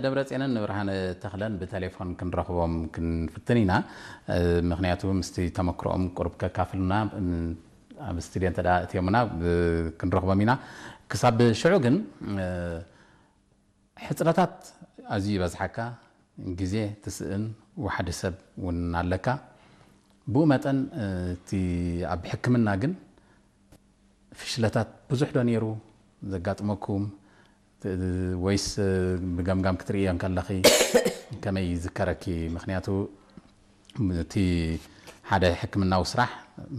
ደብረጽዮንን ንብርሃነ ተኽለን ብቴሌፎን ክንረኽቦም ክንፍትን ኢና። ምኽንያቱ ምስቲ ተመክሮኦም ቁሩብ ከካፍሉና ኣብ ስቱድዮ እንተ እትዮምና ክንረኽቦም ኢና። ክሳብ ሽዑ ግን ሕጽረታት ኣዝዩ ይበዝሓካ፣ ግዜ ትስእን፣ ዋሕዲ ሰብ እውን ኣለካ። ብኡ መጠን እቲ ኣብ ሕክምና ግን ፍሽለታት ብዙሕ ዶ ነይሩ ዘጋጥመኩም? ወይስ ብገምጋም ክትርእዮ እንከለኺ ከመይ ይዝከረኪ? ምኽንያቱ እቲ ሓደ ሕክምናዊ ስራሕ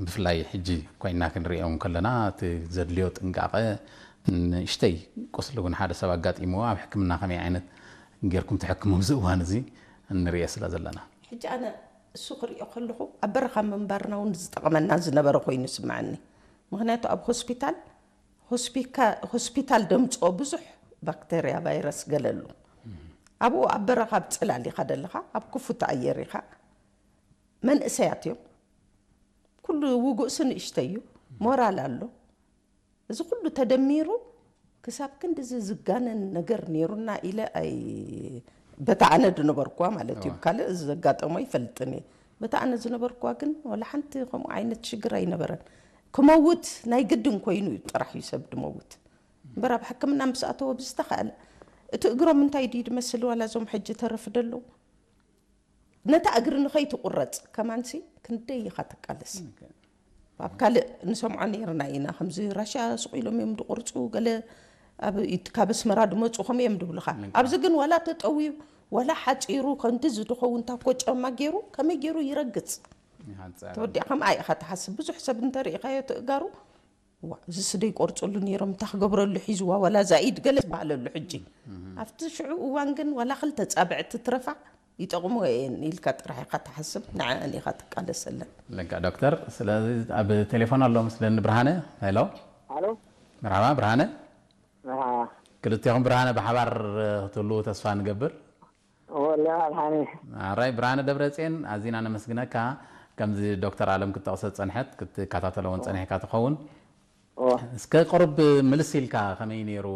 ብፍላይ ሕጂ ኮይና ክንርእዮ እንከለና እቲ ዘድልዮ ጥንቃቐ ንእሽተይ ቁስሊ እውን ሓደ ሰብ ኣጋጢምዎ ኣብ ሕክምና ከመይ ዓይነት ጌርኩም ትሕክሙ ኣብዚ እዋን እዚ ንርእዮ ስለ ዘለና። ሕጂ ኣነ እሱ ክሪኦ ከለኹ ኣብ በረኻ ምንባርና እውን ዝጠቕመና ዝነበረ ኮይኑ ይስምዓኒ። ምኽንያቱ ኣብ ሆስፒታል ሆስፒካ- ሆስፒታል ደምፅኦ ብዙሕ ባክተርያ ቫይረስ ገለሉ ኣብኡ ኣብ በረኻ ኣብ ፅላል ኢኻ ደለኻ ኣብ ክፉት ኣየር ኢኻ መንእሰያት እዮም ኩሉ ውጉእሲ ንእሽተይ እዩ ሞራል ኣሎ እዚ ኩሉ ተደሚሩ ክሳብ ክንድዚ ዝጋነን ነገር ነይሩና ኢለ ኣይ በታ ኣነ ዝነበርኩዋ ማለት እዩ ካልእ እዚ ዘጋጠሞ ይፈልጥን እየ በታ ኣነ ዝነበርኩዋ ግን ወላ ሓንቲ ከምኡ ዓይነት ሽግር ኣይነበረን ክመውት ናይ ግድን ኮይኑ እዩ ጥራሕ እዩ ሰብ ድመውት እምበር ኣብ ሕክምና ምስ ኣተወ ብዝተኻእለ እቲ እግሮም እንታይ ድዩ ድመስል ዋላ እዞም ሕጂ ተረፍ ደለዉ ነታ እግሪ ንኸይትቁረፅ ከማንሲ ክንደይ ኢኻ ትቃለስ ኣብ ካልእ ንሰምዖ ነይርና ኢና ከምዚ ራሽያ ስቕ ኢሎም እዮም ድቁርፁ ገለ ኣብ ኢት- ካብ ኣስመራ ድመፁ ከም እዮም ድብሉኻ ኣብዚ ግን ዋላ ተጠውዩ ዋላ ሓፂሩ ከምቲ ዝድኸውን ታኮ ጫማ ገይሩ ከመይ ገይሩ ይረግፅ ተወዲኣ ከምኣ ኢኻ ትሓስብ ብዙሕ ሰብ እንተርኢኻዮ ትእጋሩ ዋ እዚ ስደይ ቆርፅሉ ነይሮም እንታይ ክገብረሉ ሒዝዋ ዋላ ዛኢድ ገለ ዝበሃለሉ ሕጂ ኣብቲ ሽዑ እዋን ግን ዋላ ክልተ ፃብዕቲ ትረፋ ይጠቕሞ እየን ኢልካ ጥራሕ ኢኻ ትሓስብ ንዐአን ኢኻ ትቃለሰለን ለካ ዶክተር ስለዚ ኣብ ቴሌፎን ኣሎ ምስለኒ ብርሃነ ሄሎ ኣሎ መርሓባ ብርሃነ መርሓባ ክልቴኹም ብርሃነ ብሓባር ክትህልዉ ተስፋ ንገብር ወላ ብርሃነ ኣራይ ብርሃነ ደብረፅየን ኣዚና ነመስግነካ ከምዚ ዶክተር ኣለም ክትጠቕሰ ዝፀንሐት ክትከታተሎ እውን ፀኒሕካ ትኸውን እስከ ቁሩብ ምልስ ኢልካ ከመይ ነይሩ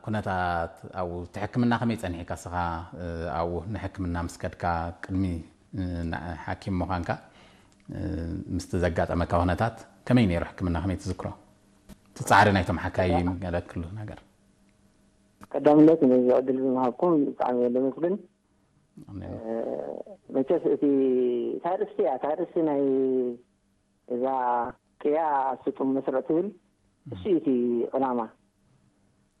ኩነታት ኣብኡ እቲ ሕክምና ከመይ ጸኒሕካ እስኻ ኣብኡ ንሕክምና ምስ ከድካ ቅድሚ ሓኪም ምዃንካ ምስቲ ዘጋጠመካ ኩነታት ከመይ ነይሩ ሕክምና ከመይ ትዝክሮ እቲ ጻዕሪ ናይቶም ሓካይም ገለ ክሉ ነገር ቀዳምነት ነዚ ዕድል ዝምሃብኩም ብጣዕሚ እየ ለመስግን መቸስ እቲ ታርእስቲ እያ ታርእስቲ ናይ እዛ ቅያ ስጡም መስርዕ ትብል እሱ እዩ እቲ ዕላማ።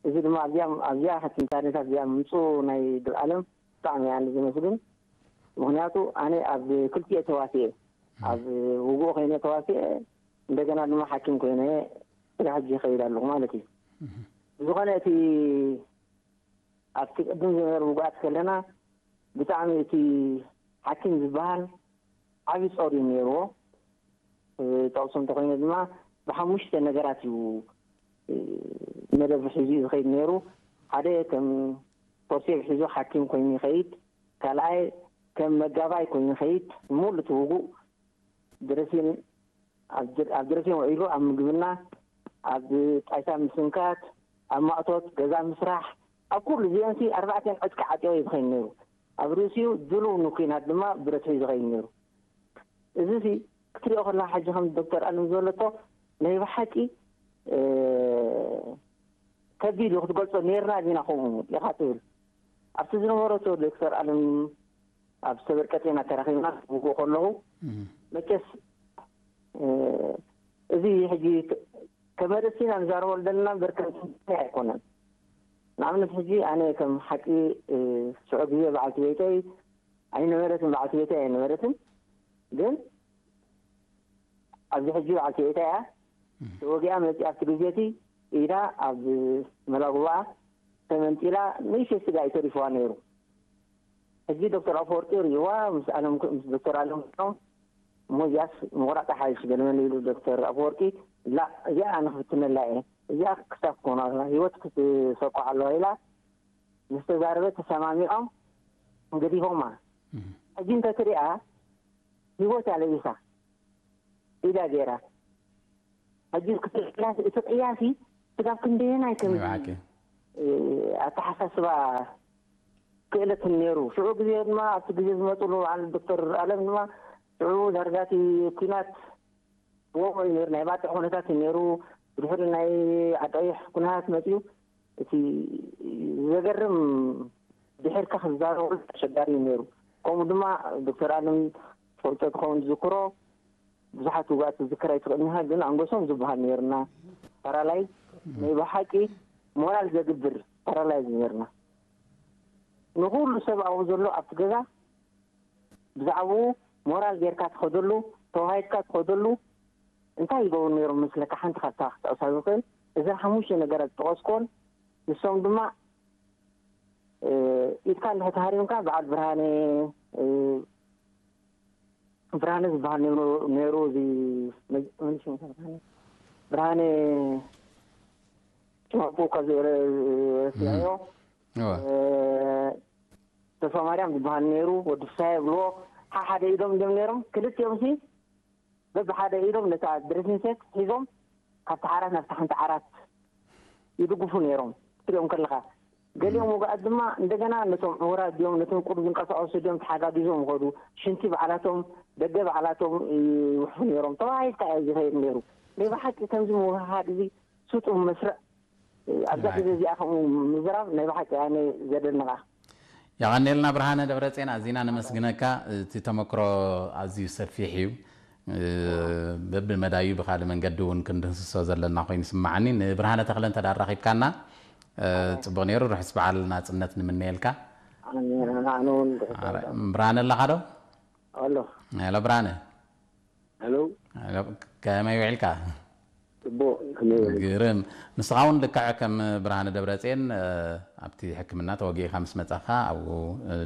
እዚ ድማ ኣብዚኣ ኣብዚኣ ትንታኔታት እዚኣ ምምፅኡ ናይ ድርኣለም ብጣዕሚ እየ ኣነ ዘመስግን። ምክንያቱ ኣነ ኣብ ክልቲኤ ተዋሲኤ ኣብ ውግእ ኮይነ ተዋሲኤ እንደገና ድማ ሓኪም ኮይነ ስጋ ሕጂ ይኸይድ ኣለኹ ማለት እዩ። ብዝኾነ እቲ ኣብቲ ቅድም ዝነበሩ ውጉኣት ከለና ብጣዕሚ እቲ ሓኪም ዝበሃል ዓብዪ ፆር እዩ ነይርዎ። ጠቕሶ እንተኾይነ ድማ ብሓሙሽተ ነገራት እዩ መደብ ሒዙ እዩ ዝኸይድ ነይሩ። ሓደ ከም ኮርሴብ ሒዙ ሓኪም ኮይኑ ይኸይድ፣ ካልኣይ ከም መጋባይ ኮይኑ ይኸይድ፣ ሙሉ እቲ ውጉእ ድረሲን ኣብ ድረሲን ውዒሉ ኣብ ምግብና፣ ኣብ ጣይታ ምስንካት፣ ኣብ ማእቶት ገዛ ምስራሕ፣ ኣብ ኩሉ እዚአንሲ ኣርባዕቲአን ዕጥቂ ዓጢቑ እዩ ዝኸይድ ነይሩ። ኣብ ርእሲኡ ድሉው ንኲናት ድማ ብረት ሒዙ ይኸይድ ነይሩ። እዚሲ ክትሪኦ ከለኻ ሕጂ ከም ዶክተር ኣለም ዝበለቶ ናይ ብሓቂ ከቢድ እዩ ክትገልጾ ኔርና ዲና ከምኡ ኢኻ ትብል ኣብቲ ዝነበረቶ ዶክተር ኣለም ኣብ ሰበር ቀጤና ተራኺብና ውግእ ከለኹ መቸስ እዚ ሕጂ ከመርሲ ኢና ንዛረበሉ ዘለና እምበር ከም ትንታኔ ኣይኮነን። ንኣብነት ሕጂ ኣነ ከም ሓቂ ሽዑ ግዜ በዓልቲ ቤተይ ኣይነበረትን በዓልቲ ቤተይ ኣይነበረትን ግን ኣብዚ ሕጂ በዓልቲ ቤተይ እያ ተወጊኣ መፂኣ ኣብቲ ግዜ እቲ ኢዳ ኣብ መላጉባኣ ተመንጢላ ንእሽተይ ስጋ እዩ ተሪፍዋ ነይሩ። ሕጂ ዶክተር ኣፈወርቂ ርእይዋ ምስ ኣለም ምስ ዶክተር ኣለም ኮይኖም እሞ እዚኣስ ምቑራፅ ሓይሽ ገለመለ ኢሉ ዶክተር ኣፈወርቂ ላእ እዚኣ ኣነ ክፍትነላ እየ እዚኣ ክሳብ ክትኮና ህይወት ክትሰቆ ኣለዋ ኢላ ምስ ተዛረበት ተሰማሚዖም ገዲፎማ። ሕጂ እንተትሪኣ ህይወት እያ ለቢሳ ኢዳ ገይራ ሕጂ እቲ ቅያሲ ስጋብ ክንደየናይ ከም ኣተሓሳስባ ክእለት ነይሩ። ሽዑ ግዜ ድማ ኣብቲ ግዜ ዝመፅሉ በዓል ዶክተር ኣለም ድማ ሽዑ ዳርጋ እቲ ኲናት እዎ እዩ ነይሩ። ናይ ባፅዕ ኩነታት እዩ ነይሩ። ብድሕሪ ናይ ዓቃይሕ ኩነታት መፅዩ እቲ ዘገርም ድሕርካ ክዛረቡ ኣሸጋሪ እዩ ነይሩ። ከምኡ ድማ ዶክተር ኣለም ፈልጦ ክኸውን ዝዝክሮ ብዙሓት ውግኣት ዝዝክር ኣይትኽእልንኻ፣ ግን ኣንጎሶም ዝበሃል ነይርና። ፓራላይዝ ናይ ብሓቂ ሞራል ዘግብር ፓራላይዝ ነይርና። ንኹሉ ሰብ ኣብኡ ዘሎ ኣብቲ ገዛ ብዛዕባኡ ሞራል ጌርካ ትኸደሉ፣ ተዋሂድካ ትኸደሉ። እንታይ ይገብሩ ነይሮም መስለካ? ሓንቲ ካብታ ክጠቕሳ ዝኽእል እዘን ሓሙሽተ ነገራት ዝጠቐስኩዎን፣ ንሶም ድማ ኢድካ እንድሕር ተሃሪምካ በዓል ብርሃነ ብርሃነ ዝበሃል ነይሩ። እዚ ብርሃነ ሽማፉ ካብ ረስናዮ ተስፋ ማርያም ዝበሃል ነይሩ። ወዲ ፍሳየ ይብልዎ። ሓሓደ ኢዶም እዮም ነይሮም። ክልቲኦም ሲ በብሓደ ኢዶም ነታ ድሬሲንግ ሴት ሒዞም ካብቲ ዓራት ናብቲ ሓንቲ ዓራት ይድግፉ ነይሮም። ክትሪኦም ከለኻ ገሊኦም ወግኣት ድማ እንደገና ነቶም ዕውራት ድዮም ነቶም ቁሩብ ዝንቀሳቐሱ ድዮም ተሓጋጊዞም ይኸዱ። ሽንቲ ባዕላቶም ደገ ባዕላቶም ይውሕፉ ነይሮም። ተዋሂድካ እዩ ዝኸይድ ነይሩ። ናይ ብሓቂ ከምዚ ምውህሃድ እዚ ስጡም መስርዕ ኣብዛ ግዜ እዚኣ ከምኡ ምዝራብ ናይ ብሓቂ ኣነ ዘደንቓ። የቐንየልና ብርሃነ ደብረፅዮን፣ ኣዚና ነመስግነካ። እቲ ተመክሮ ኣዝዩ ሰፊሕ እዩ። በብመዳዩ ብካልእ መንገዲ እውን ክንድህስሶ ዘለና ኮይኑ ይስምዓኒ። ንብርሃነ ተኽለ እንተ ኣራኺብካና ፅቡቕ ነይሩ። ርሑስ በዓል ናፅነት ንምነየልካ። ብርሃነ ኣለኻ ዶ? ኣሎ። ሄሎ ብርሃነ። ሄሎ። ከመይ ውዒልካ? ጽቡቕ። ከመይ ውዒልካ? ግርም። ንስኻ እውን ልክዕ ከም ብርሃነ ደብረጽዮን ኣብቲ ሕክምና ተወጊእካ ምስ መጻኻ ኣብኡ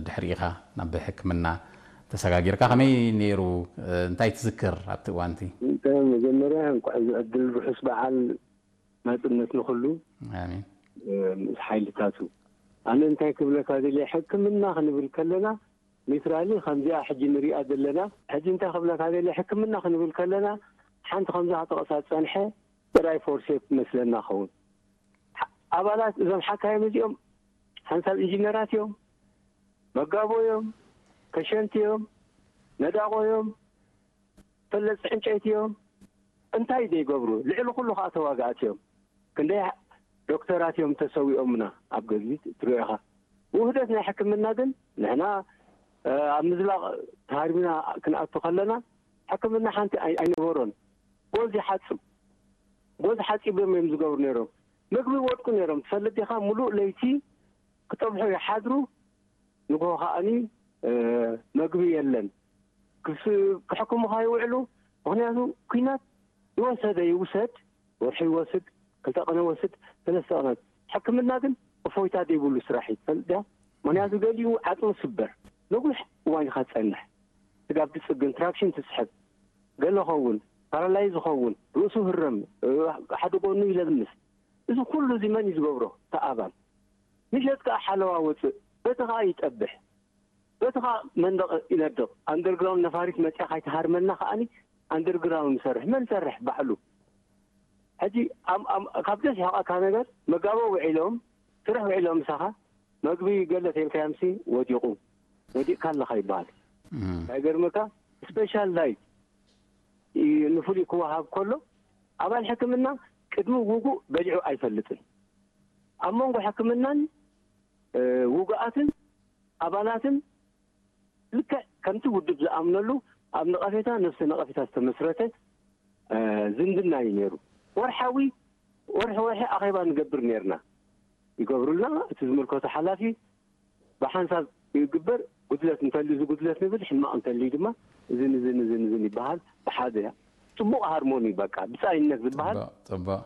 ድሕሪ ኢኻ ናብ ሕክምና ተሰጋጊርካ። ከመይ ነይሩ? እንታይ ትዝክር ኣብቲ እዋንቲ? እንተ መጀመርያ እንኳዕ እዚ ዕድል ርሑስ በዓል ናጽነት ንኹሉ ኣሜን። ምስ ሓይልታቱ። ኣነ እንታይ ክብለካ ደልየ ሕክምና ክንብል ከለና ሊትራሊ ከምዚኣ ሕጂ ንሪኣ ዘለና ሕጂ እንታይ ክብለካ ደልየ ሕክምና ክንብል ከለና ሓንቲ ከምዛ ተቐሳ ዝጸንሐ ጥራይ ፎርሴፕ መስለና ኸውን ኣባላት እዞም ሓካይም እዚኦም ሓንሳብ ኢንጂነራት እዮም መጋቦ እዮም ከሸንቲ እዮም ነዳቖ እዮም ፈለፅቲ ዕንጨይቲ እዮም እንታይ ዘይገብሩ ልዕሊ ኩሉ ከዓ ተዋጋእቲ እዮም ክንደይ ዶክተራት እዮም ተሰዊኦምና ኣብ ገድሊ ትሪኦ ኢኻ ውህደት ናይ ሕክምና ግን ንሕና ኣብ ምዝላቕ ተሃርቢና ክንኣቱ ከለና ሕክምና ሓንቲ ኣይነበሮን ጎዝ ይሓፅብ ጎዝ ሓፂቦም እዮም ዝገብሩ ነይሮም ምግቢ ይወድቁ ነይሮም ትፈልጥ ዲኻ ሙሉእ ለይቲ ክጠብሑ ይሓድሩ ንግሆ ከዓኒ መግቢ የለን ክሕክሙኻ ይውዕሉ ምክንያቱ ኩናት ይወሰደ ይውሰድ ወርሒ ይወስድ ክልተ ቀነ ወስድ ሰለስተ ቀነ ሕክምና ግን እፎይታ ዘይብሉ ስራሕ እዩ ትፈልጥ ድያ ምክንያቱ ገሊኡ ዓፅሙ ስበር ነዊሕ እዋን ኢካ ትፀንሕ ስጋብ ትፅግን ትራክሽን ትስሕብ ገለ ኸውን ፓራላይዝ ኸውን ርእሱ ህረም ሓደ ጎኑ ይለምስ እዚ ኩሉ እዚ መን እዩ ዝገብሮ ተኣባል ምሸት ከዓ ሓለዋ ወፅእ በቲ ከዓ ይጠብሕ በቲ ከዓ መንደቕ ይነድቕ ኣንደርግራውንድ ነፋሪት መፅያ ካይትሃርመና ከዓኒ ኣንደርግራውንድ ንሰርሕ መን ሰርሕ ባዕሉ ሕጂ ካብ ደስ ሕቐካ ነገር መጋቦ ውዒሎም ስርሕ ውዒሎም ምሳኻ መግቢ ገለ ተልካዮምሲ ወዲቑ ወዲቕካ ኣለኻ ይበሃል ኣይገርመካ ስፔሻል ዳይት ንፍሉይ ክወሃብ ከሎ ኣባል ሕክምና ቅድሚ ውጉእ በሊዑ ኣይፈልጥን ኣብ መንጎ ሕክምናን ውጉኣትን ኣባላትን ልክዕ ከምቲ ውድብ ዝኣምነሉ ኣብ ነቐፌታ ነፍሲ ነቐፌታ ዝተመስረተ ዝምድና እዩ ነይሩ። ወርሓዊ ወርሒ ወርሒ ኣኼባ ንገብር ነይርና። ይገብሩልና፣ እቲ ዝምልከቶ ሓላፊ ብሓንሳብ ይግበር፣ ጉድለት እንተልዩ እዚ ጉድለት ንብል፣ ሕማቕ እንተልዩ ድማ እዝን እዝን እዝን እዝን ይበሃል። ብሓደ ጽቡቕ ሃርሞኒ በቃ ብጻይነት ዝበሃል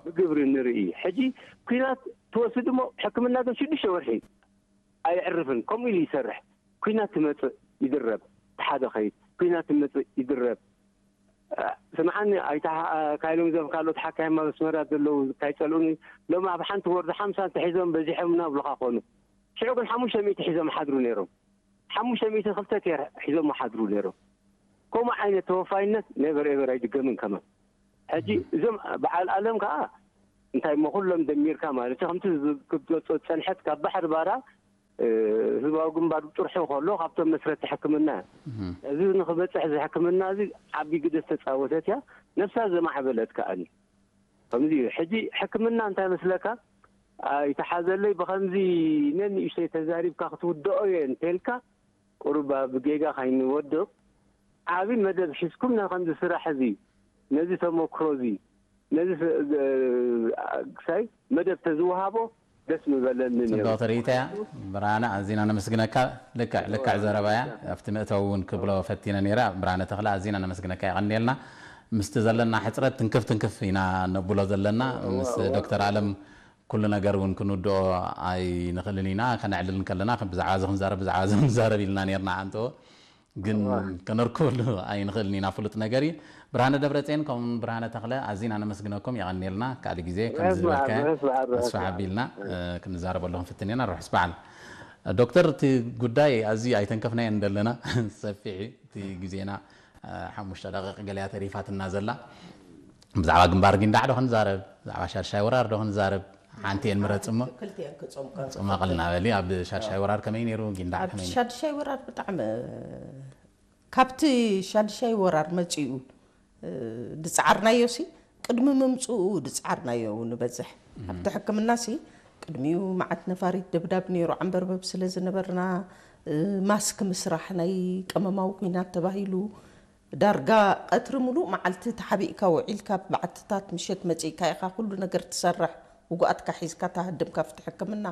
ብግብሪ ንርኢ። ሕጂ ኲናት ትወስድ እሞ ሕክምና ግን ሽዱሽተ ወርሒ ኣየዕርፍን ከምኡ ኢሉ ይሰርሕ ኲናት ትመጽእ ይድረብ እቲ ሓደ ኸይድ ኲናት ትመጽእ ይድረብ ስምዓኒ ኣይታ ካይሎም ዘም ካልኦት ሓካይም ኣብ ኣስመራ ዘለዉ ካይጸልኡኒ ሎም ኣብ ሓንቲ ወርዲ ሓምሳ እንተሒዞም በዚሖምና ብሉኻ ኮኑ ሽዑ ግን ሓሙሽተ ሚእቲ ሒዞም ሓድሩ ነይሮም ሓሙሽተ ሚእቲ ክልተ ቴር ሒዞም ሓድሩ ነይሮም ከምኡ ዓይነት ተወፋይነት ነበር ኤበር ኣይድገምን ከማን ሕጂ እዞም በዓል ኣለም ከዓ እንታይ እሞ ኩሎም ደሚርካ ማለት እዩ ከምቲ ክትገልፆ ዝፀንሐት ካብ ባሕሪ ባራ ህዝቢ ዞባዊ ግንባር ጥርሑ ከሎ ካብቶም መስረቲ ሕክምና እያ። እዚ ንክበፅሕ እዚ ሕክምና እዚ ዓቢ ግደ ዝተፃወተት እያ። ነብሳ ዘማዕበለት ከኣኒ ከምዚ እዩ። ሕጂ ሕክምና እንታይ መስለካ? ኣይተሓዘለይ ብኸምዚ ነንእሽተይ ተዛሪብካ ክትውድኦ እየ እንተልካ ቁሩብ ኣብ ጌጋ ካይንወድቕ ዓቢ መደብ ሒዝኩም ነዚ ከምዚ ስራሕ እዚ ነዚ ተመክሮ እዚ ነዚ ስ- ግ- ክሳይ መደብ ተዝወሃቦ ደስ ምበለኒ ነይሩ። ጽብቕቲ ርእይቶ እያ። ብርሃነ፣ ኣዚና ነመስግነካ። ልክዕ ልክዕ ዘረባ እያ። ኣብቲ መእተዊ እውን ክብሎ ፈቲነ ነይረ። ብርሃነ ተኽለ፣ ኣዚና ነመስግነካ፣ የቐንየልና። ምስቲ ዘለና ሕጽረት ትንክፍ ትንክፍ ኢና ነብሎ ዘለና። ምስ ዶክተር ኣለም ኩሉ ነገር እውን ክንውድኦ ኣይንኽእልን ኢና። ከነዕልል እንከለና ከም ብዛዕባ እዚ ክንዛረብ፣ ብዛዕባ እዚ ክንዛረብ ኢልና ነይርና ኣንተዎ። ግን ከነርክበሉ ኣይንኽእልን ኢና፣ ፍሉጥ ነገር እዩ። ብርሃነ ደብረጽዮን ከምኡ ብርሃነ ተኽለ ኣዚና ነመስግነኩም፣ የቐንየልና። ካልእ ግዜ ከምዚ ርሑስ ዝበልካዮ በዓል፣ ርሑስ በዓል፣ ርሑስ ተስፋ በዓል። ኣቢልና፣ እ፣ ክንዛረበሉ ክንፍትን ኢና። ርሑስ በዓል። ዶክተር፣ እቲ ጉዳይ ኣዝዩ ኣይተንከፍናዮን ዘለና፣ ሰፊሕ እዩ እቲ ግዜና፣ እ፣ ሓሙሽተ ደቂቕ ገለያ ተሪፋትና ዘላ። ብዛዕባ ግንባር ጊንዳዕ ዶ ክንዛረብ፣ ብዛዕባ ሻድሻይ ወራር ዶ ክንዛረብ፣ ሓንቲ እየን ምረጽ እሞ። ክልቲኤን ክጸምቃ ጽመቕልና በሊ። ኣብ ሻድሻይ ወራር ከመይ ነይሩ፣ ጊንዳዕ ኣብ ከመይ ነይሩ? ሻድሻይ ወራር ብጣዕሚ፣ ካብቲ ሻድሻይ ወራር መጺኡ፣ እ፣ ዝጸዓርናዮ ሲ፣ ቅድሚ ምምጽኡ ዝጸዓርናዮ ንበዝሕ። ኣብቲ ሕክምና ሲ፣ ቅድሚኡ መዓት ነፋሪት ደብዳብ ነይሩ፣ ዓንበርበብ ስለ ዝነበርና፣ እ፣ ማስክ ምስራሕ ናይ ቀመማዊ ኲናት ተባሂሉ፣ ዳርጋ ቀትሪ ምሉእ መዓልቲ ተሓቢእካ ውዒልካ፣ ኣብ በዓትታት ምሸት መጺእካ ኢኻ ኩሉ ነገር ትሰርሕ። ውጉኣትካ ሒዝካ ተሃድም ካብቲ ሕክምና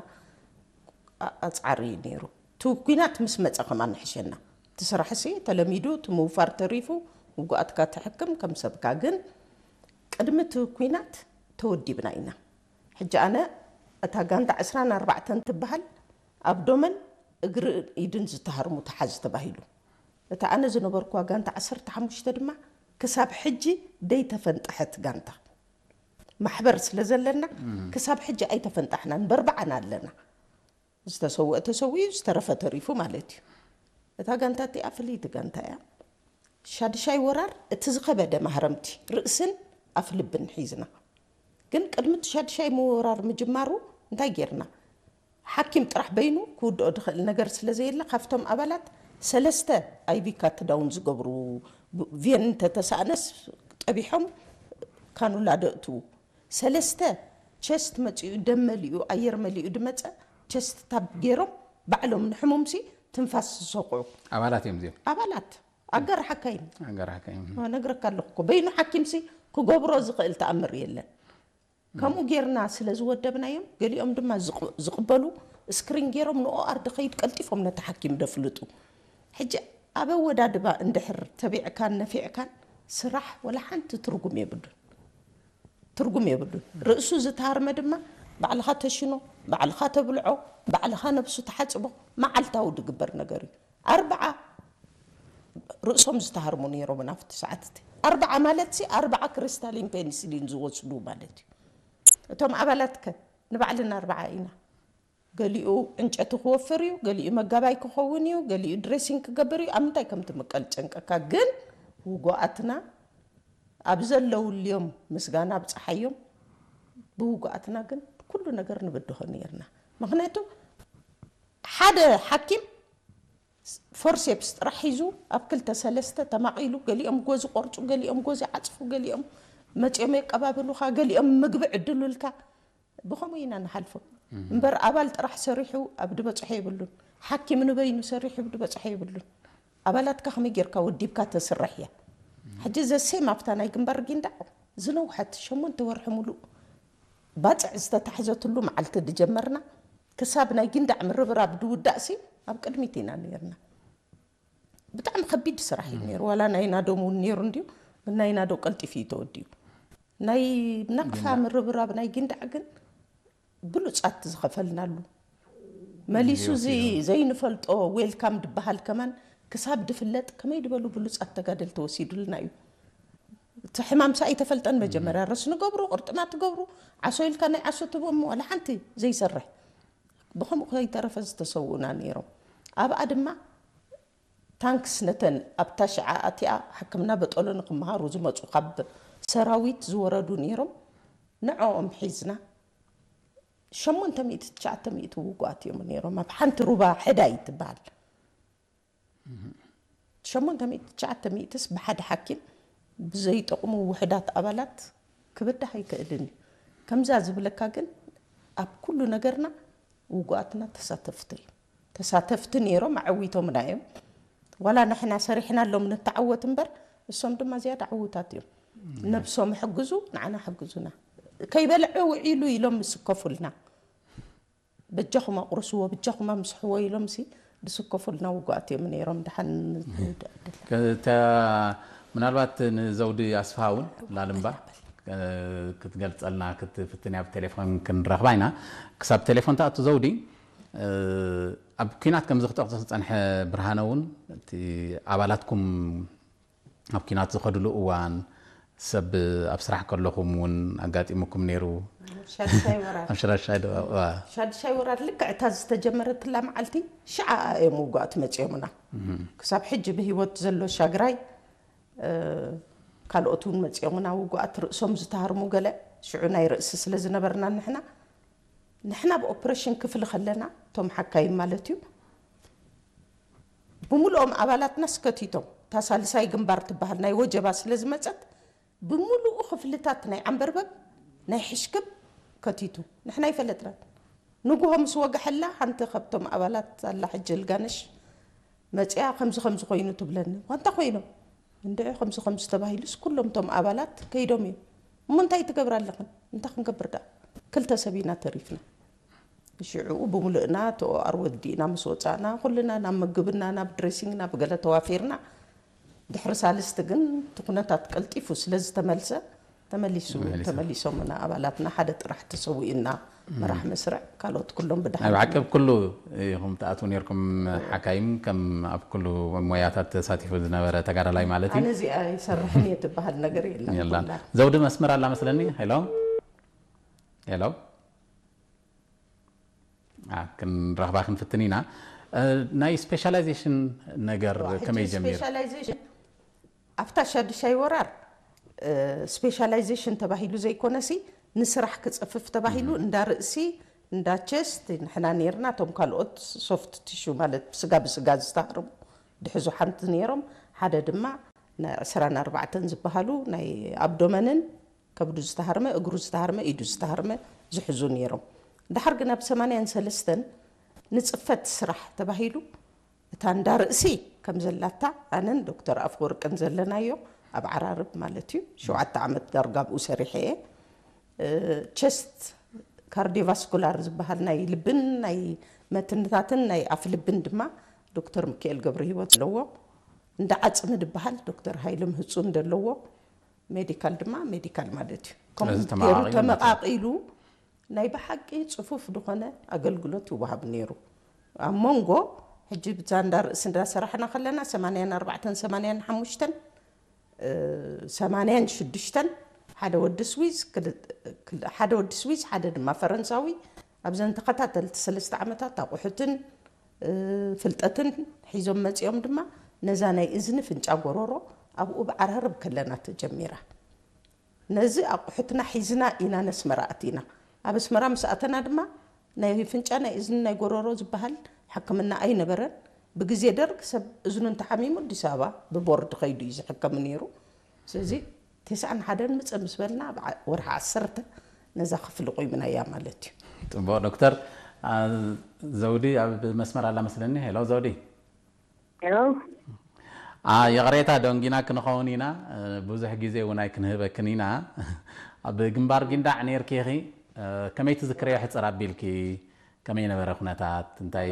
ኣ-፣ ኣጽዓሪ እዩ ነይሩ። እቲ ኲናት ምስ መጸ ከማን ንሕሸና። እቲ ስራሕሲ ተለሚዱ፣ እቲ ምውፋር ተሪፉ፣ ውጉኣትካ ትሕክም ከም ሰብካ። ግን ቅድሚ እቲ ኲናት ተወዲብና ኢና። ሕጂ ኣነ እታ ጋንታ ዕስራን ኣርባዕተን ትበሃል ኣብ ዶመን እግሪ ኢድን ዝተሃርሙ ተሓዝ ተባሂሉ። እታ ኣነ ዝነበርኩዋ ጋንታ ዓሰርተ ሓሙሽተ ድማ ክሳብ ሕጂ ደይተፈንጠሐት ጋንታ። ማሕበር ስለ ዘለና ክሳብ ሕጂ ኣይተፈንጣሕናን፣ በርባዓና ኣለና። ዝተሰውአ ተሰዊኡ፣ ዝተረፈ ተሪፉ ማለት እዩ። እታ ጋንታ እቲኣ ፍልይቲ ጋንታ እያ። ሻድሻይ ወራር እቲ ዝኸበደ ማህረምቲ ርእስን ኣፍ ልብን ሒዝና። ግን ቅድሚ እቲ ሻድሻይ ምውራር ምጅማሩ እንታይ ጌርና? ሓኪም ጥራሕ በይኑ ክውድኦ ዝኽእል ነገር ስለ ዘየለ፣ ካብቶም ኣባላት ሰለስተ ኣይቪ ካትዳውን ዝገብሩ፣ ብ-፣ ቬን እንተተሳእነስ ጠቢሖም ካኑላ ደእትዉ። ሰለስተ ቸስት መጺኡ፣ ደም መሊኡ፣ ኣየር መሊኡ ድመጸ፣ ቸስት ታብ ገይሮም ባዕሎም ንሕሙምሲ ትንፋስ ዝሰኹዑ ኣባላት እዮም እዚኦም። ኣባላት ኣጋር ሓካይም። ኣጋር ሓካይም። ነግረካ ኣለኹ እኮ፣ በይኑ ሓኪምሲ ክገብሮ ዝኽእል ተኣምር የለን። ከምኡ ጌርና ስለ ዝወደብናዮም፣ ገሊኦም ድማ ዝቕ-፣ ዝቕበሉ ስክሪን ጌሮም ንኦኣር ድኸይድ ቀልጢፎም ነቲ ሓኪም ደፍልጡ። ሕጂ ኣብ ኣወዳድባ እንድሕር ተቢዕካን ነፊዕካን ስራሕ ወላ ሓንቲ ትርጉም የብሉን። ትርጉም የብሉን። ርእሱ ዝተሃርመ ድማ ባዕልኻ ተሽኖ፣ ባዕልኻ ተብልዖ፣ ባዕልኻ ነብሱ ተሓጽቦ፣ መዓልታዊ ድግበር ነገር እዩ። ኣርብዓ ርእሶም ዝተሃርሙ ነይሮም ናብቲ ሰዓት እቲ። ኣርብዓ ማለት ሲ ኣርብዓ ክሪስታሊን ፔኒሲሊን ዝወስዱ ማለት እዩ። እቶም ኣባላት ከ ንባዕልና ኣርብዓ ኢና። ገሊኡ ዕንጨቲ ክወፍር እዩ፣ ገሊኡ መጋባይ ክኸውን እዩ፣ ገሊኡ ድሬሲንግ ክገብር እዩ። ኣብ ምንታይ ከም ትምቀል ጨንቀካ። ግን ውጉኣትና ኣብ ዘለውልዮም ምስጋና ኣብጽሓዮም። ብውጉኣትና ግን ኩሉ ነገር ንብድሆ ነይርና። ምኽንያቱ ሓደ ሓኪም ፎርሴፕስ ጥራሕ ሒዙ ኣብ ክልተ ሰለስተ ተማቒሉ፣ ገሊኦም ጎዚ ቆርጹ፣ ገሊኦም ጎዚ ዓጽፉ፣ ገሊኦም መጺኦም የቀባብሉኻ፣ ገሊኦም ምግቢ ዕድሉልካ። ብኸምኡ ኢና ንሓልፎ። እምበር ኣባል ጥራሕ ሰሪሑ ኣብ ድበጽሖ የብሉን። ሓኪም ንበይኑ ሰሪሑ ኣብ ድበጽሖ የብሉን። ኣባላትካ ከመይ ጌርካ ወዲብካ ተስርሕ እያ። ሕጂ ዘሴም ኣብታ ናይ ግንባር ጊንዳዕ ዝነውሐት ሸሞንተ ወርሒ ሙሉእ ባጽዕ ዝተታሕዘትሉ መዓልቲ ድጀመርና ክሳብ ናይ ጊንዳዕ ምርብራብ ድውዳእሲ ኣብ ቅድሚት ኢና ነይርና። ብጣዕሚ ከቢድ ስራሕ እዩ ነይሩ። ዋላ ናይ ናዶም እውን ነይሩ እንድዩ፣ ግን ናይ ናዶ ቀልጢፉ እዩ ተወዲኡ። ናይ ናቕፋ ግን ምርብራብ ናይ ጊንዳዕ ግን ብሉጻት ዝኸፈልናሉ። መሊሱ እዚ ዘይንፈልጦ ዌልካም ድበሃል ከማን ክሳብ ድፍለጥ ከመይ ድበሉ ብሉጻት ተጋደልቲ ወሲዱልና እዩ። እቲ ሕማም ሳ ኣይተፈልጠን መጀመርያ። ረስኒ ገብሩ፣ ቅርጥማት ገብሩ፣ ዓሶ ኢልካ ናይ ዓሶ ትህቦም ዋላ ሓንቲ ዘይሰርሕ። ብኸምኡ ከይተረፈ ዝተሰውኡና ነይሮም። ኣብኣ ድማ ታንክስ ነተን ኣብታ ሽዓ ኣቲኣ ሕክምና በጠሎ ንክመሃሩ ዝመጹ ካብ ሰራዊት ዝወረዱ ነይሮም። ንዕኦም ሒዝና ሸሞንተ ሚእቲ ትሽዓተ ሚእቲ ውጉኣት እዮም ነይሮም ኣብ ሓንቲ ሩባ ሕዳይ ትበሃል። ሸሞንተ ሚእቲ ትሽዓተ ሚእትስ ብሓደ ሓኪም ብዘይጠቕሙ ውሑዳት ኣባላት ክብዳህ ኣይክእልን እዩ። ከምዛ ዝብለካ ግን ኣብ ኩሉ ነገርና ውጉኣትና ተሳተፍቲ እዮም። ተሳተፍቲ ነይሮም፣ ኣዐዊቶምና እዮም። ዋላ ንሕና ሰሪሕናሎም ንተዓወት እምበር እሶም ድማ ዝያዳ ዕዉታት እዮም። ነብሶም ሕግዙ፣ ንዓና ሕግዙና። ከይበልዐ ውዒሉ ኢሎም ምስከፉልና። በጃኹም ኣቑርስዎ፣ በጃኹም ኣምስሕዎ ኢሎም ሲ ዝስከፉልና ውጉኣት እዮም ነይሮም። ደሓን ንውዳእ ድል። ከተ-፣ ምናልባት ንዘውዲ ኣስፍሃ እውን ላልምባ፣ እ፣ ክትገልጸልና ክትፍትን እያ። ብቴሌፎን ክንረኽባ ኢና። ክሳብ ቴሌፎን ትኣቱ ዘውዲ፣ እ፣ ኣብ ኲናት ከምዚ ክጠቕሶ ዝጸንሐ ብርሃነ እውን፣ እቲ ኣባላትኩም ኣብ ኲናት ዝኸድሉ እዋን፣ ሰብ ኣብ ስራሕ ከለኹም እውን ኣጋጢሙኩም ነይሩ? ሻድሻይ ወራር። ኣብ ሽራሻይ ዶ? እዋ። ሻድሻይ ወራር ልክዕ እታ ዝተጀመረትላ መዓልቲ ሽዓ እዮም ውጉኣት መጺኦምና። ክሳብ ሕጂ ብህይወት ዘሎ ሻግራይ፣ እ፣ ካልኦት እውን መጺኦምና ውጉኣት ርእሶም ዝተሃርሙ ገለ። ሽዑ ናይ ርእሲ ስለ ዝነበርና ንሕና፣ ንሕና ብኦፕሬሽን ክፍሊ ከለና፣ እቶም ሓካይም ማለት እዩ፣ ብምሉኦም ኣባላትና ስከቲቶም። እታ ሳልሳይ ግንባር ትበሃል ናይ ወጀባ ስለ ዝመጸት፣ ብምሉኡ ክፍልታት ናይ ዓንበርበብ፣ ናይ ሕሽክብ ከቲቱ። ንሕና ኣይፈለጥናን። ንጉሆ ምስ ወግሐላ፣ ሓንቲ ካብቶም ኣባላት ኣላ ሕጂ ልጋነሽ መጺኣ፣ "ከምዚ ከምዚ ኮይኑ" ትብለኒ። "ዋንታ ኮይኖም?" "እንድዒ፣ ከምዚ ከምዚ ተባሂሉስ፣ ኩሎም እቶም ኣባላት ከይዶም እዮም። እሞ እንታይ ትገብራ ኣለኽን?" "እንታይ ክንገብር ደኣ? ክልተ ሰብ ኢና ተሪፍና." ሽዑ ብምሉእና እቲ ኦኣር ወዲእና ምስ ወጻእና፣ ኩልና ናብ ምግብና፣ ናብ ድሬሲንግ፣ ናብ ገለ ተዋፊርና። ድሕሪ ሳልስቲ ግን እቲ ኩነታት ቀልጢፉ ስለ ዝተመልሰ፣ ተመሊሱ፣ ተመሊሱ። ተመሊሶምና ኣባላትና። ሓደ ጥራሕ ተሰዊኡና፣ መራሕ መስርዕ፣ ካልኦት ኩሎም ብድሓን ናብ ዓቀብ ተመሊሶም። ኩሉ ኢኹም ትኣትዉ ነይርኩም፣ ሓካይም ከም ኣብ ኩሉ ሞያታት ተሳቲፉ ዝነበረ ተጋዳላይ ማለት እዩ። ኣነ እዚኣ ይሰርሕን እየ ትበሃል ነገር የላን። የላን። ኩላ። ዘውዲ መስመር ኣላ መስለኒ። ሄሎ፣ ሄሎ። ኣ፣ ክንረኽባ ክንፍትን ኢና። እ፣ ናይ ስፔሻላይዜሽን ነገር ዋ፣ ከመይ ሕጂ ጀሚሩ? ስፔሻላይዜሽን ኣብታ ሻዱሻይ ወራር፣ እ፣ ስፔሻላይዜሽን ተባሂሉ ዘይኮነሲ፣ ንስራሕ ክጸፍፍ ተባሂሉ፣ እንዳ ርእሲ፣ እንዳ ቸስት ንሕና ነይርና። እቶም ካልኦት ሶፍት ቲሹ ማለት ስጋ ብስጋ ዝተሃርሙ ድሕዙ ሓንቲ ነይሮም። ሓደ ድማ ናይ ዕስራን ኣርባዕተን ዝበሃሉ ናይ ኣብዶመንን ከብዱ ዝተሃርመ፣ እግሩ ዝተሃርመ፣ ኢዱ ዝተሃርመ ዝሕዙ ነይሮም። ድሓር ግን ኣብ ሰማንያን ሰለስተን ንጽፈት ስራሕ ተባሂሉ፣ እታ እንዳ ርእሲ ከም ዘላታ ኣነን ዶክተር ኣፈወርቅን ዘለናዮ ኣብ ዓራርብ ማለት እዩ። ሸውዓተ ዓመት ዳርጋ ኣብኡ ሰሪሐ እየ። እ፣ ቸስት ካርዲዮቫስኩላር ዝበሃል ናይ ልብን ናይ መትንታትን ናይ ኣፍ ልብን ድማ ዶክተር ሚካኤል ገብረ ህይወት ኣለዎ። እንዳ ዓጽሚ ዝበሃል ዶክተር ሃይለ ምህጹን ዘለዎ፣ ሜዲካል ድማ ሜዲካል ማለት እዩ። ከምኡ ስለዚ ገይሩ ተመቓቒሉ ማለት እዩ። ተመቓቒሉ ናይ ብሓቂ ጽፉፍ ዝኾነ ኣገልግሎት ይወሃብ ነይሩ። ኣብ መንጎ ሕጂ ብዛ እንዳ ርእሲ እንዳሰራሕና ከለና ሰማንያን ኣርባዕተን ሰማንያን ሓሙሽተን፣ እ፣ ሰማንያን ሽዱሽተን ሓደ ወዲ ስዊዝ፣ ክል-፣ ክል-፣ ሓደ ወዲ ስዊዝ፣ ሓደ ድማ ፈረንሳዊ ኣብዘን ተኸታተልቲ ሰለስተ ዓመታት ኣቑሑትን፣ እ፣ ፍልጠትን ሒዞም መጺኦም ድማ ነዛ ናይ እዝኒ ፍንጫ ጎሮሮ ኣብኡ ብዓራርብ ከለና ተጀሚራ። ነዚ ኣቑሑትና ሒዝና ኢና ነስመራ ኣቲና። ኣብ ኣስመራ ምስ ኣተና ድማ ናይ ፍንጫ፣ ናይ እዝኒ፣ ናይ ጎሮሮ ዝበሃል ሕክምና ኣይነበረን። ብግዜ ደርግ ሰብ እዝኑ እንተሓሚሙ ኣዲስ ኣበባ ብቦርድ ከይዱ እዩ ዝሕከም ነይሩ። ስለዚ ተስዓን ሓደን ምጸ ምስ በልና ኣብ ዓ-፣ ወርሒ ዓሰርተ ነዛ ክፍሊ ቆይምናያ ማለት እዩ። ጽቡቕ ዶክተር። ኣ፣ ዘውዲ ኣብ መስመር ኣላ መስለኒ። ሄሎ ዘውዲ። ሄሎ። ኣ፣ ይቕሬታ ደንጊና ክንኸውን ኢና። እ፣ ብዙሕ ግዜ እውን ኣይክንህበክን ኢና። ኣብ ግንባር ጊንዳዕ ነይርኪ ኢኺ። እ፣ ከመይ ትዝክርዮ ሕጽር ኣቢልኪ? ከመይ ነበረ ኩነታት? እንታይ?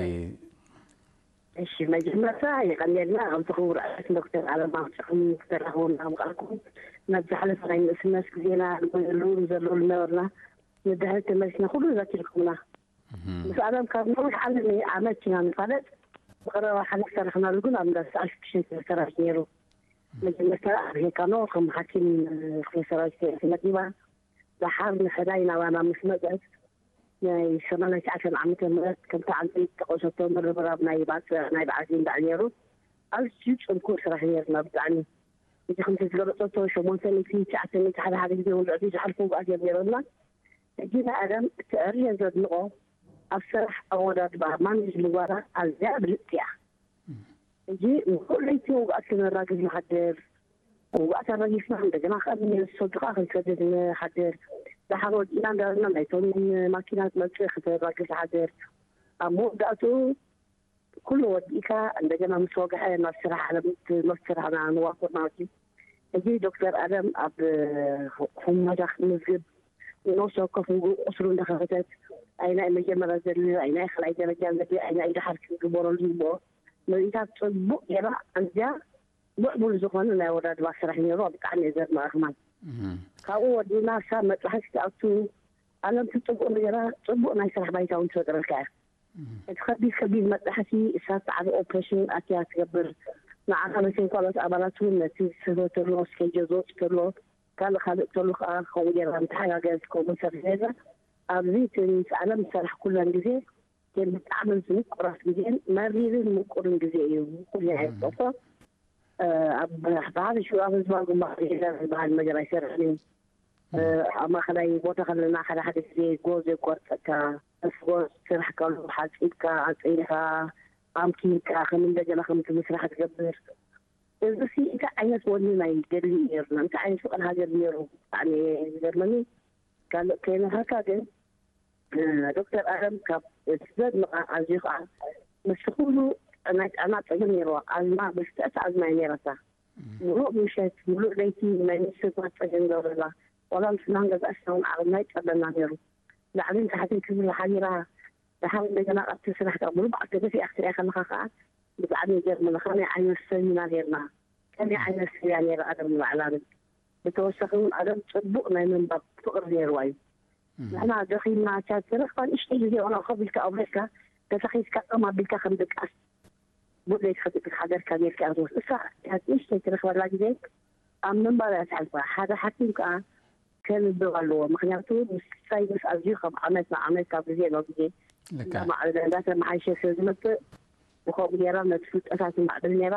እሺ፣ መጀመርታ የቐንየልና ከምቲ ክቡር ኣያት ዶክተር ኣለማ ክጨኹም ክተራኽቡና ምቓልኩም። ናብ ዝሓለፈ ናይ ንእስነት ግዜና ንጎየሉ ንዘለሉ ነበርና። ንድሕሪት ተመሊስና ኩሉ ዘኪርኩምና። እህ። ምስ ኣለም ካብ ነዊሕ ዓለም ዓመት ኢና ንፋለጥ። ብቐረባ ሓሊፍ ሰራሕናሉ ግን ኣብ እንዳ ሰዓል ሽዱሽተ ሰራዊት ነይሩ። መጀመርታ ኣብ ሄካኖ ከም ሓኪም ክፍለ ሰራዊት ተመዲባ። ደሓር ንሕዳይ ናባና ምስ መጸት ናይ ሰማንያን ትሽዓተን ዓመተ ምህረት ከምቲ ዓንተይ ዝጠቐሰቶ ምርብራብ ናይ ባጽዕ ናይ በዓል ጊንዳዕ ነይሩ። ኣዝዩ ጽንኩር ስራሕ ነይርና ብጣዕሚ። እዚ ከምቲ ዝገለጸቶ ሸሞንተ ሚእቲ ትሽዓተ ሚእቲ ሓደ ሓደ ግዜ እውን ልዕሊ ዝሓልፉ ውግኣት እዮም ነይሮምና። ሕጂ ናይ ኣለም እቲ ዕርየ ዘድንቆ ኣብ ስራሕ ኣወዳድባ ማኔጅ ምግባራ ኣዝያ ብልጽቲ እያ። ሕጂ ንኩሉ ለይቲ ውግኣት ክነራግፍ ንሓድር፣ ውግኣት ኣራጊፍና እንደገና ካብ ሰድካ ክንሰድድ ንሓድር፣ ደሓር ወዲእና እንዳበልና ናይቶም ማኪና መጽእ ክተራግፍ ንሓድር። ኣብ መወዳእትኡ ኩሉ ወዲእካ እንደገና ምስ ወግሐ ናብ ስራሕ ዓለም ናብ ስራሕና ንዋፈር ማለት እዩ። ሕጂ ዶክተር ኣለም ኣብ ሁመዳ ክትምዝግብ ንነብሰ ወከፍ ውግእ ቁስሉ እንዳኸፈተት ኣይናይ መጀመርያ ዘድልዮ ኣይናይ ካልኣይ ደረጃ ዘድልዮ ኣይናይ ደሓር ክግበረሉ ዝግብኦ ምርኢታት ጽቡቅ ጌራ ኣዝያ ምዕቡል ዝኾነ ናይ ወዳድባ ስራሕ ነይሩ። ብጣዕሚ እየ ዘድንቐ ከማን ካብኡ ወዲና ሳብ መጥባሕቲ ክትኣቱ ኣለም ትጽቡቅ ነገራ ጽቡቅ ናይ ስራሕ ባይታ እውን ትፈጥረልካ እያ። እቲ ከቢድ ከቢድ መጥባሕቲ እሳ ጻዕሪ ኦፕሬሽን ኣትያ ትገብር። ንዓኻ መሰንኳላት ኣባላት እውን ነቲ ዝስህበ ተሎ ስኬጆ ዝወጽእ ተሎ ካልእ ካልእ ተሎ ከዓ ከምኡ ጌርና ንተሓጋገዝ ከምኡ ንሰርሕ ጌርና ኣብዚ እቲ ምስ ዓለም ዝሰራሕ ኩለን ግዜ ግን ብጣዕሚ ምቁራት ግዜን መሪርን ምቁርን ግዜ እዩ። ኩሉ ኣይጠፎ ኣብ ብሓፈሽኡ ኣብ ህዝባዊ ግንባር ዝበሃል ነገር ኣይሰርሕን እዩ። ኣብ ማእኸላይ ቦታ ከለና ሓደ ሓደ ግዜ ጎዝ የቋርፀካ። ምስ ጎዝ ስራሕ ከሎ ሓፂብካ ኣፀይኻ ኣምኪንካ ከም እንደገና ከምቲ ምስራሕ ትገብር። እዚ ሲ እንታይ ዓይነት ወኒ ናይ ገድሊ እዩ ነይሩና? እንታይ ዓይነት ፍቕሪ ሃገር ነይሩ? ብጣዕሚ እየ ዝገርመኒ። ካልእ ከይነሃካ ግን ዶክተር ኣለም ካብ እቲ ዘድንቓ ኣዝዩ ከዓ ምስ ኩሉ ናይ ጥዕና ፀገም ነይርዋ። ኣዝማ ብልፅዕቲ ኣዝማ እየ ነይራታ። ሙሉእ ምሸት ሙሉእ ለይቲ ናይ ምስትንፋስ ፀገም ገብረላ። ዋላ ንስና ንገዛእ ሽና እውን ዓቕምና ይፀበና ነይሩ። ላዕልን ታሕትን ክብል ሓቢራ ደሓር እንደገና ኣብቲ ስራሕ ከዓ ሙሉእ በዓል ተገፊኣ ክትሪኣ ከለካ ከዓ ብጣዕሚ ይገርመና። ከመይ ዓይነት ሰብ ኢና ነይርና? ከመይ ዓይነት ሰብ እያ ነይራ ኣለም ንባዕላ? ብተወሳኺ እውን ኣለም ፅቡቅ ናይ ምንባብ ፍቅሪ ነይርዋ እዩ። ንሕና ደኺምና ቻት ተረኽባ ንእሽተይ ግዜ ዋላ ኮፍ ኢልካ ኣብ ቤትካ ተሰኺፍካ ጠም ኣቢልካ ከም ድቃስ ቡድለይ ትኸትእ ሓገርካ ጌርካ እያ ትወስድ። እሳ ቻት ንእሽተይ ትረኽበላ ግዜ ኣብ ምንባብ እያ ትሓልፋ። ሓደ ሓኪም ከዓ ከንብብ ኣለዎ። ምክንያቱ ምስ ሳይንስ ኣዝዩ ካብ ዓመት ናብ ዓመት ካብ ግዜ ናብ ግዜ ልካ እንዳማዕበለ እንዳተመሓየሸ ስለ ዝመፅእ ብከምኡ ጌራ ነቲ ፍልጠታት ይማዕብል ነይራ።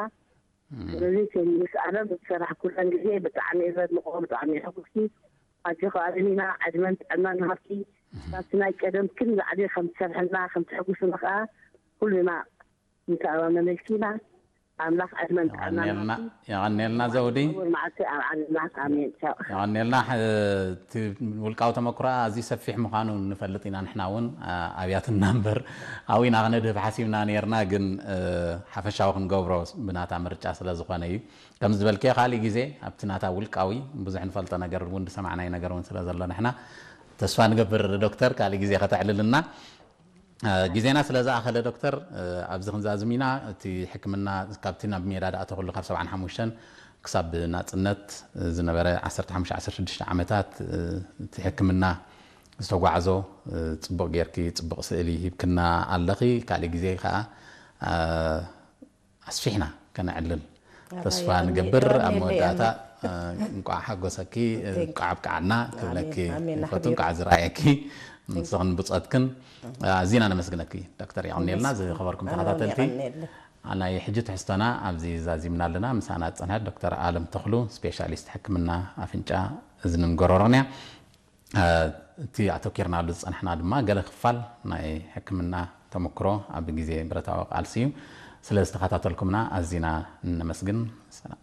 ስለዚ ምስ ኣለም ዝሰራሕ ኩለን ግዜ ብጣዕሚ እየ ዘድንቆ፣ ብጣዕሚ እየ ሕጉስቲ። ኣጆኻ ኣለሚና ዕድመን ጥዕናን ሃብቲ ካብቲ ናይ ቀደም ክን ዝዓሊ ከም ትሰርሐልና ከም ትሕጉስና ከዓ ኩልና ንተኣማመነልኪ ኢና። ኣምላኽ ዕድመን ጥዕናን የቐንየልና። ሃብቲ የቐንየልና ዘውዲ። ክቡር መዓልቲ ኣብ ዓለምና። ኣሜን። ቻው። የቐንየልና። ሕ- እቲ ውልቃዊ ተመክሮ ኣዝዩ ሰፊሕ ምዃኑ ንፈልጥ ኢና። ንሕና እውን ኣ- ኣብያትና እምበር ኣብኡ ኢና ክነድህብ ሓሲብና ነርና፣ ግን እ፣ ሓፈሻዊ ክንገብሮ ብናታ ምርጫ ስለ ዝኾነ እዩ። ከም ዝበልክዮ ካልእ ግዜ ኣብቲ ናታ ውልቃዊ ብዙሕ ንፈልጦ ነገር እውን ዝሰማዕናዮ ነገር እውን ስለ ዘሎ ንሕና ተስፋ ንገብር ዶክተር ካልእ ግዜ ከተዕልልና። እ፣ ግዜና ስለ ዝኣኸለ ዶክተር እ፣ ኣብዚ ክንዛዝም ኢና። እቲ ሕክምና ካብቲ ናብ ሜዳ ዝኣተኹሉ ካብ ሰብዓን ሓሙሽተን ክሳብ ናጽነት ዝነበረ ዓሰርተ ሓሙሽተ ዓሰርተ ሽዱሽተ ዓመታት እ፣ እቲ ሕክምና ዝተጓዕዞ እ፣ ጽቡቕ ጌርኪ ጽቡቕ ስእሊ ሂብክና ኣለኺ። ካልእ ግዜ ከኣ እ፣ ኣስፊሕና ከነዕልል ኣባይ ተስፋ ኣሜን፣ ንገብር። ኣብ ኣሜን፣ መወዳእታ ኣሜን። እ፣ እንቋዕ ሓጎሰኪ፣ እ፣ Thank you። እንቋዕ ኣብቅዓና ክብለኪ ኣሜን፣ ኣሜን፣ ይፈቱ። ሓቢሩ። እንቋዕ ዝረኣየኪ ንስኽን ብጾትክን ኣዚና ነመስግነኪ ዶክተር። የቐንየልና። ዝኸበርኩም ኣነ እውን ተኸታተልቲ የቐንየለይ። ናይ ሕጂ ትሕዝቶና ኣብዚ ዛዚምና ኣለና። ምሳና ዝጸንሐት ዶክተር ኣለም ተኽሉ ስፔሻሊስት ሕክምና ኣፍንጫ እዝንን ጎረሮን እያ። እ፣ እቲ ኣተኪርናሉ ዝጸናሕና ድማ ገለ ክፋል ናይ ሕክምና ተመክሮ ኣብ ግዜ ብረታዊ ቃልሲ እዩ። ስለ ዝተኸታተልኩምና ኣዚና ነመስግን። ሰላም።